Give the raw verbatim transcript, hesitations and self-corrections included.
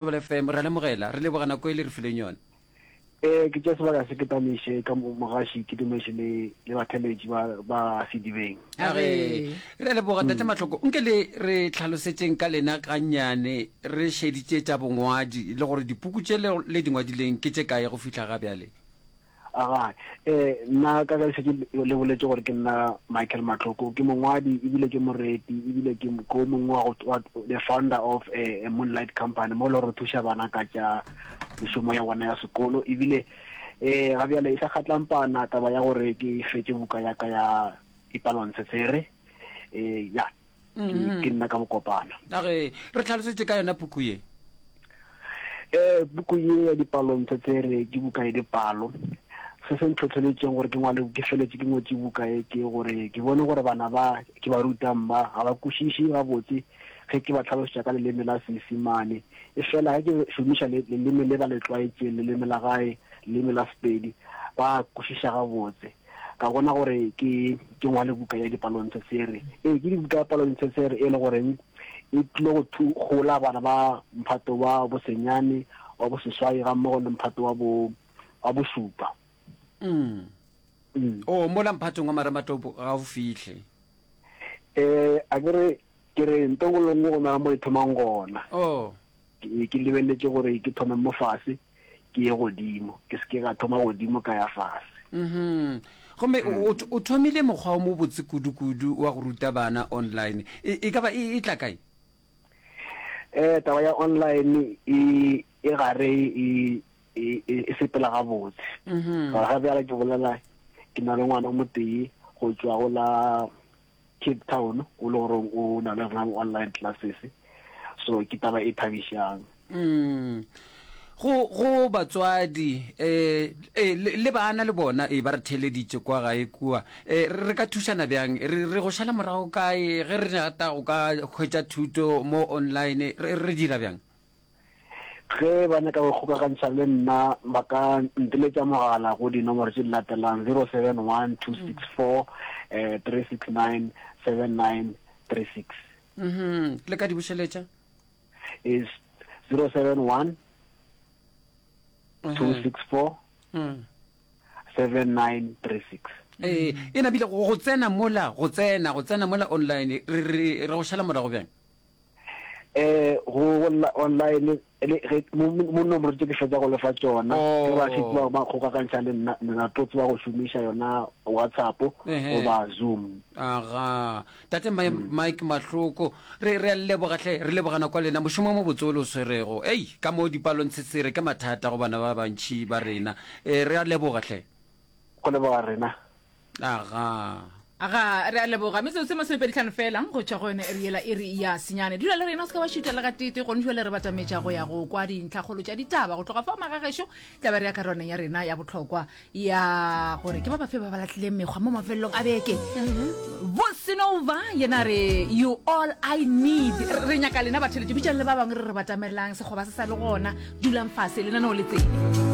Thobela F M, re a lemogela, re leboga nako e le re fileng yona. Eh, ke tšea sebaka se ke tamiše ka mogaši, ke dumeše le le batheletši ba ba sedibeng. A re, re a leboga Tate Mahloko. Nke le re tlhalosetšeng ka lena gannyane, re šeditše tša bongwadi le gore dipuku tše le le di ngwadileng ke tše kae go fihla ga bjale? Aga, eh, nna ka ge šetše le boletše gore ke nna Michael Mahloko, ke mongwadi ebile ke moreti ebile ke ke o mongwe wa go wa the founder of a, a Moonlight Company mo e le gore re thuša bana ka tša mešomo ya bona ya sekolo ebile eh ga bjale e sa kgatlampana taba ya gore ke fetše buka ya ka ya dipalontshetshwere eh ya ke ke nna ka bokopana. A re re tlhalosetše ka yona puku ye. Eh buku ye ya dipalontshetshwere ke buka ya dipalo. Se se ntlhohleletšeng gore ke ngwale ke feletše ke ngwetše buka ye ke gore ke bone gore bana ba ke ba rutang ba ga ba kwešiše gabotse ge ke ba hlalosetša ka leleme la Seisemane. E fela ge ke šomiša leleme le ba le tlwaetšeng, leleme la gae, leleme la Sepedi, ba kwešiša gabotse. Ka bona gore ke ke ngwale buka ya dipalontshetshwere. Ee, ke buka ya palontshetshwere e le goreng e tlile go thu gola bana ba mphato wa bosenyane, wa boseswai gammogo le mphato wa bo wa bošupa. Mm. Mm. O mola mphatong wa marematopo ga o fihle. Eh, a ke re ke re nto nngwe le nngwe go na le mo e thomang gona. Oh. Ke ke lebeletše gore ke thome mo fase ke ye godimo, ke se ke ka thoma godimo ka ya fase. Mhm. Gomme o o thomile mokgwa o mobotse kudu-kudu wa go ruta bana online. E, e ka ba e, e tla kae? Eh, taba ya online e e gare e e e sepela gabotse. Mhm. Gore ga bjale ke bolela ke na le ngwana o motee go tšwa go la Cape Town o le gore o na le rena online classes. So ke taba e thabišang. Mm. Go go batswadi eh eh le, le bana le bona eh ba re theeleditše kwa gae kua. Eh re ka thušana bjang? Re re go šala morago kae ge re rata go ka hwetša thuto mo online re re dira bjang? Ge ba nyaka go kgokagantšha le nna ba ka nteletša mogala go dinomoro tše di latelang zero seven one two six four eh three six nine seven nine three six. Mhm. Le ka di bušeletša? Is zero seven one two six four Mm. seven nine three six. Eh, e nabile go go tsena mola, go tsena, go tsena mola online, re re re go šala morago bjang? Eh, go online le ge mo mo nomoro tše ke fetsa go lefa tšona, ge ba šetše ba ba kgokagantšha le nna, nna tlo tseba go šomiša yona WhatsApp goba Zoom. Aga, Tate Mike Mahloko, re re a leboga hle, re leboga nako ya lena, mošomo o mobotse o le o swerego. Ei, ka mo dipalong tshetshere ke mathata go bana ba bantši ba rena. Eh, re a leboga hle. Go leboga rena. Aga. Aga, re a leboga. Metsotso e masomepedi hlano fela go tšwa go yone iri yela, iri ya senyane. Dula le rena, o se ka wa šutha le gatete. Gone jwale re batametša go ya go kwa dintlhakgolo tša ditaba. Go tloga fao magagešo, tla be re ya karolwaneng ya rena ya bohlokwa ya gore ke ba bafe ba ba lahlileng mekgwa mo mafelelong a beke. Bosenova yena a re, You all I need. Re nyaka lena batheletši, bitšang le ba bangwe re re batamelang. Sekgoba se sa le gona. Dulang fase, lenaneo le tsene.